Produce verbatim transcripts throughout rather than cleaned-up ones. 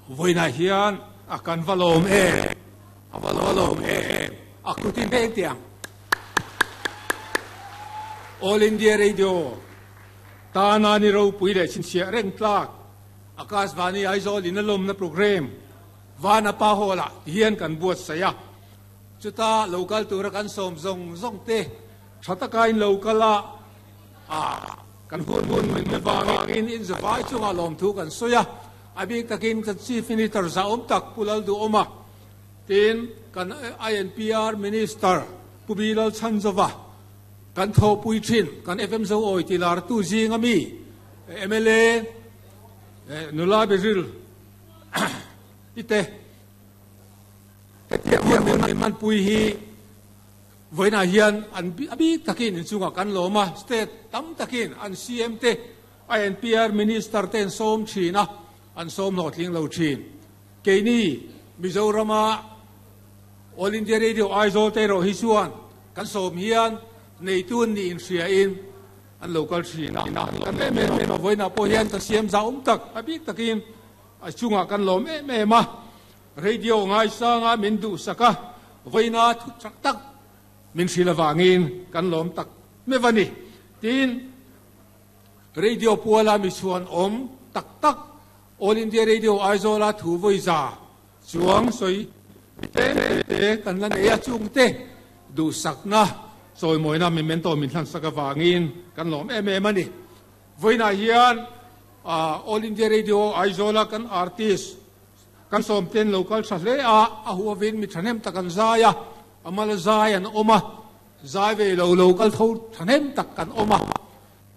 Voina hian a kan valom e a valom e a kutin pek tiang All India Radio ta na ni ro pui le chin sia reng tlak Akashvani Aizawl in alom na program vana pa hola hian kan buat saya chuta local tura kan som zong zong te thataka in local a a kan hun hun min wangin in zawai chunga lom thu kan soya abik takin kan chief minister za om tak pulal du oma tin kan I N P R minister Pubilal Chanzova kan tho pui thin kan F M zo oi tilar tu jing ami M L A nula bezil ite man pui hi voina hian an abi takin in chunga kan loma state tam takin an C M te I N P R minister ten som thina an som no tling lo thin keini Mizorama All India Radio Aizawl te ro hi chuan kan som hian nei tun ni in hria in an local thina kan me me voina po hian kan siam za um tak abi takin a chunga kan lom em em a radio ngai sanga min du saka voina thu tak tak min silawangin kan lom tak me vani tin radio puala mi chuan om tak tak All India Radio Aizawl a thu voi za chuang soi te te kan lan e chung te du sakna soi moina mi mento min thlan saka wangin kan lom em em ani voina hian All India Radio Aizawl kan artist kan som ten local sa hle a a huawin mi thanem takan zaya amal zai an oma zai ve lo local tho thanem tak kan oma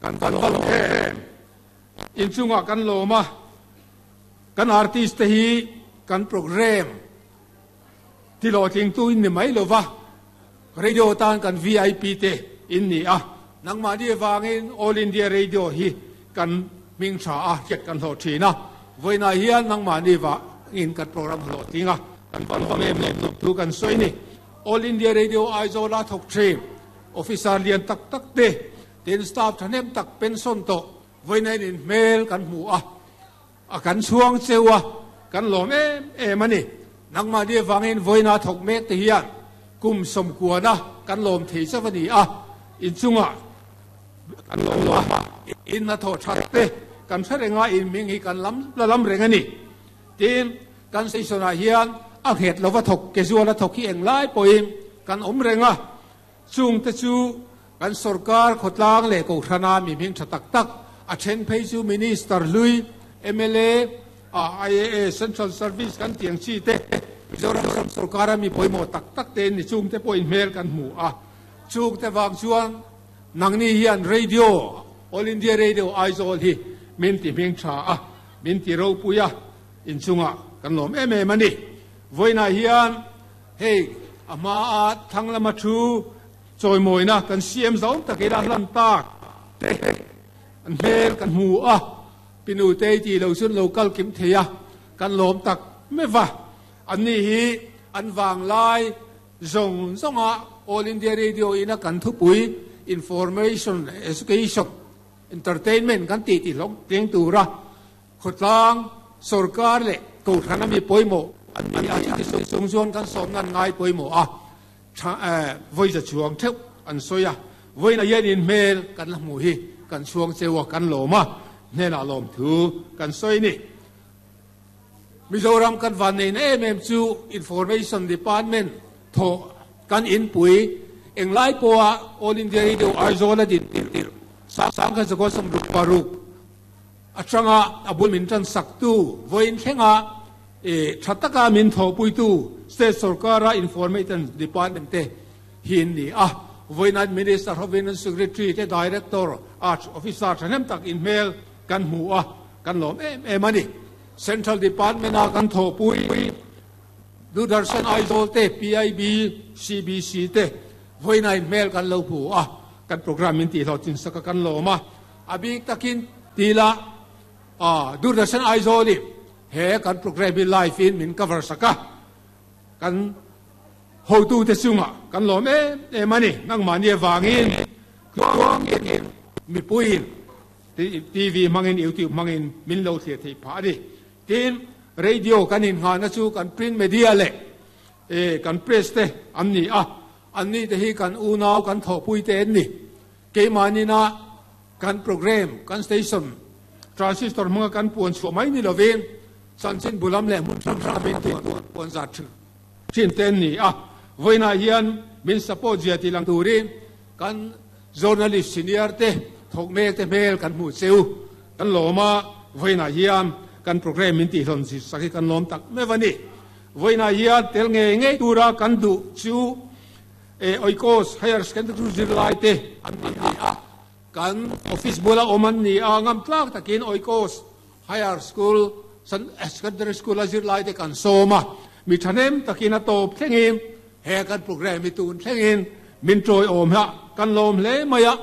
kan kan lo em in chunga kan loma kan artist te hi kan program ti lo ting tu in ni mai lova radio tan kan V I P te in ni a nangma ni wangin All India Radio hi kan ming tha a chet kan ho thina voina hian nangma ni wa in kan program lo tinga kan van va mem tu kan soi ni All India Radio Aizawl a thok thin officer lian tak tak te ten staff thanem tak pension to voina in mail kan mu a a kan chuang chewa kan lom em em ani nangma ni wangin voina thok mek te hian kum som kuana kan lom thei chawani a in chunga kan lom a in na tho that te kan threnga in ming hi kan lam lam reng ani tin kan station a hian a het lova thok ke zuala thok hi eng lai poin kan om renga chung te chu kan sarkar khotlang le ko thana mi ming tha tak tak a then phei chu minister lui M L A I A A Central Service kan tiang chi te Mizoram sarkar mi poimo tak tak te ni chung te poin mel kan mu a chung te wang chuan nangni hian radio All India Radio Aizawl hi min ti ming tha a min ti ro puya in chunga kan lom em em ani voina hian hei ama a thanglama thu choimoina kan C M zau takila hlan tak an hmel kan mu a pinu te ti lo chun local kim theya kan lom tak mewa an ni hi an wang lai zong zonga All India Radio ina kan thu pui information education entertainment kan ti ti long teng tura khotlang sarkar le ko thana mi poimo an ni a chi sung chuan kan som nan ngai poimo a voi za chuang theu an soya voi na yen in mail kan la mu hi kan chuang chewa kan loma ne la lom thu kan soi ni Mizoram kan van nei em em chu information department tho kan in pui eng lai po a All India Radio Aizawl a din tir sang kha ko som ruk paruk atanga abul min tan sak tu voin thenga e thataka min tho pui tu state sarkara information department te hin ni a voinan minister hovinan secretary te director arts officer thanem tak in mail kan mu a kan lom em em ani central department a kan tho pui Doordarshan Aizawl te P I B C B C te voinai mail kan lo pu a kan program min ti lo chin saka kan loma abik takin tila a Doordarshan Aizawl he kan program live in min cover saka kan ho tu te chunga kan lom em em ani nang mani wangin mi puin T V mangin YouTube mangin min lo thia thei pha đi tin radio kan in nga na chu kan print media le e kan press te an ni a an ni te hi kan u nau kan tho pui te an ni keimani na kan program kan station transistor manga kan puan chu mai ni lovin chanchin bulam le mun ram ram in puan za thu chin ten ni a voina hian min support zia ti lang turin kan journalist senior te thok mek te mel kan mu cheu kan loma voina hian kan program min ti hlon si saki kan lom tak me wani voina hian tel nge nge tura kan du chu e oikos higher secondary zirlai te an ni a kan office bula oman ni a ngam tlak takin oikos higher school san secondary school a zirlai te kan soma mi thanem takin a top thlengin he kan program mi tun thlengin min troi om ha kan lom hle maya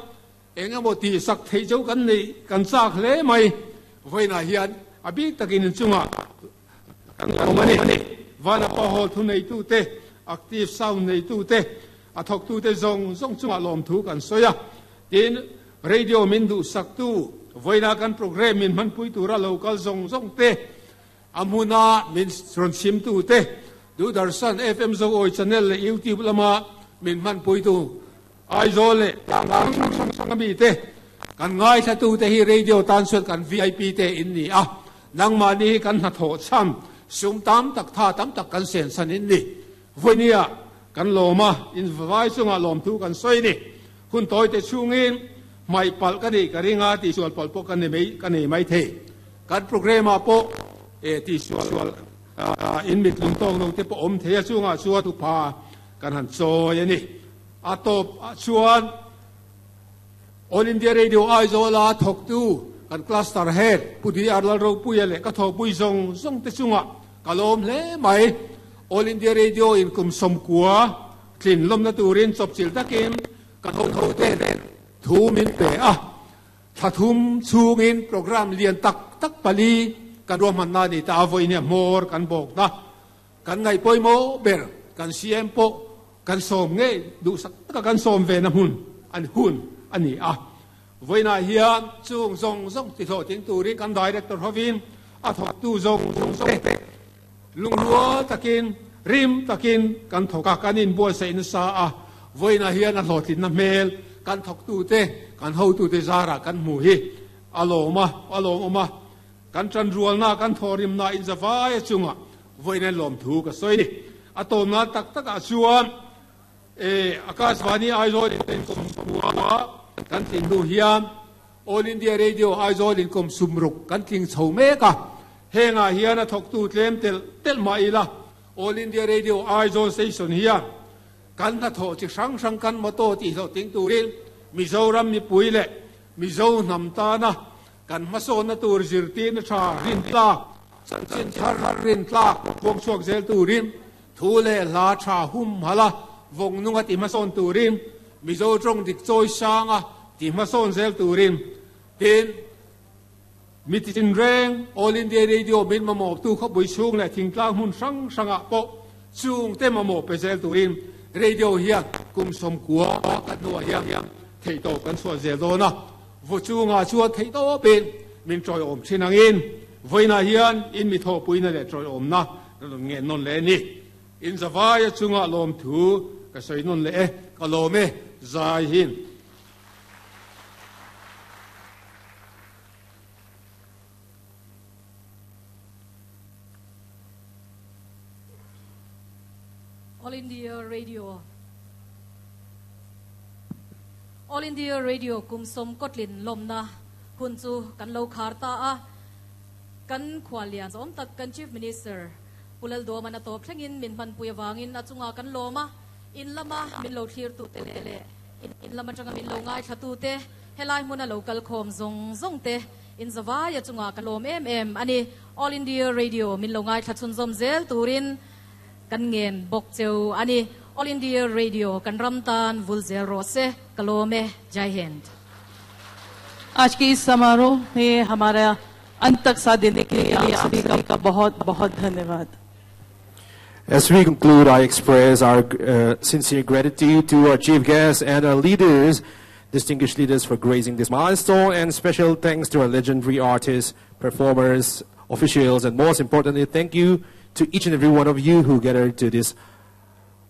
engemaw ti sak thei cheu kan nei kan chak hle mai voina hian abi takin chunga kan lom ani vana pa hol thu nei tu te active sound nei tu te a thok tu te zong zong chunga lom thu kan soya tin radio min du sak tu voina kan program min man pui tura local zong zong te amuna min ron sim tu te du darsan F M zo oi channel le YouTube lama min man pui tu Aizawl le tlang mi te kan ngai tha tu te hi radio tan suan kan V I P te in ni a nang ma ni kan na tho cham sum tam tak tha tam tak kan sen san in ni voinia kan loma in vai chunga lom thu kan soi ni hun toi te chungin mai pal ka ni ka ringa ti sual pal po kan ni mai kan ni mai the kan program a po e ti sual in mit lung tong nong te po om the chunga chua tu pa kan han choi ani a top chuan All India Radio Aizawl a thok tu kan cluster head pudi arlal ro puya le ka tho pui zong zong te chunga kalom hle mai All India Radio in kum som kua thlin lom na turin chop chil takin ka tho tho te thu min pe a thathum chungin program lian tak tak pali kan ro man na ni ta voi ne mor kan bok na kan ngai poimo ber kan C M po kan som nge du sak ka kan som ve na hun an hun ani a voina hian chung zong zong ti tho ting turin kan director hovin a thok tu zong zong zong lungruo takin rim takin kan thoka kanin bua se in sa a voina hian a hlotlin na mel kan thok tu te kan ho tu te zara kan mu hi aloma aloma kan tran rual na kan thorim na in zawai chunga voina lom thu ka soi ni atom na tak tak a chuan e Akashvani Aizawl in kum kan tin du hian All India Radio Aizawl in kum sumruk kan tling chho meka henga hian a thok tu tlem tel tel ma ila All India Radio Aizawl station hian kan na tho chi sang sang kan moto ti ho ting turin Mizoram mi puile Mizo nam ta na kan maso na tur zirti na tha rin tla chin thar rin tla bok chuak zel turin thu le la tha hum hala vong nunga ti mason turin Mizo trong dik choi sanga ti mason zel turin tin mitin reng All India Radio min mamop tu kho bui chung le thingtlang hun sang sanga po chung te mamop pe zel turin radio hian kum som kua kan nuwa hian thei to kan suwa zel do na vo chunga chua thei to pin min troi om thinangin voina hian in mi tho puina le troi om na nge non le ni in zawai chunga lom thu ka soi non le ka lome zai hin All India Radio All India Radio kum som kotlin lomna hun chu kan lo khar ta a kan khwalian om tak kan Chief Minister Pulal do mana top thlengin min man puya wangin achunga kan loma in lama min lo thlir tu te le in lama tanga min lo ngai thatu te helai hmuna local khom zong zong te in zawai achunga kan lom em em ani All India Radio min lo ngai thachun zom zel turin kan ngen bok cheu ani All India Radio kan ramtan vulzel rose kalome Jai Hind. आज के इस समारोह में हमारा अंत तक साथ देने के लिए आप सभी का बहुत बहुत धन्यवाद। As we conclude, I express our uh, sincere gratitude to our chief guests and our leaders, distinguished leaders for gracing this milestone, and special thanks to our legendary artists, performers, officials, and most importantly, thank you to each and every one of you who gathered to this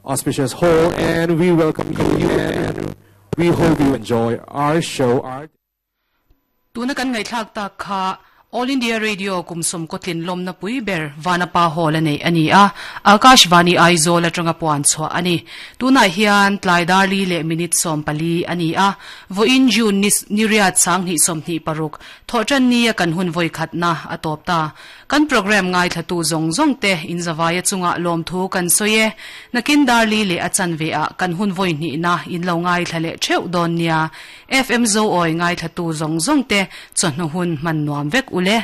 auspicious hall, and we welcome you and we hope you enjoy our show. Our Tuna kan ngaihthlak tak kha All India Radio kum sawm kawtlin lawmna pui ber Vanapa Hall a nei a ni a, Akashvani Aizawl atanga puan chhuah a ni. Tunah hian tlai darli leh minute sawm pali a ni a, vawiin June ni ni riat sanghnih sawmhnih paruk thawhtan ni a kan hun vawi khatna a tawp ta. Kan program ngaithlatu zawng zawng te inzavaia chunga lawmthu kan sawi e. Nakin darli leh a chanve ah kan hun vawi hnihna in lo ngaithla leh theuh dawn nia. F M Zo awi ngaithlatu zawng zawng te chawhnu hun hman nuam vek ule.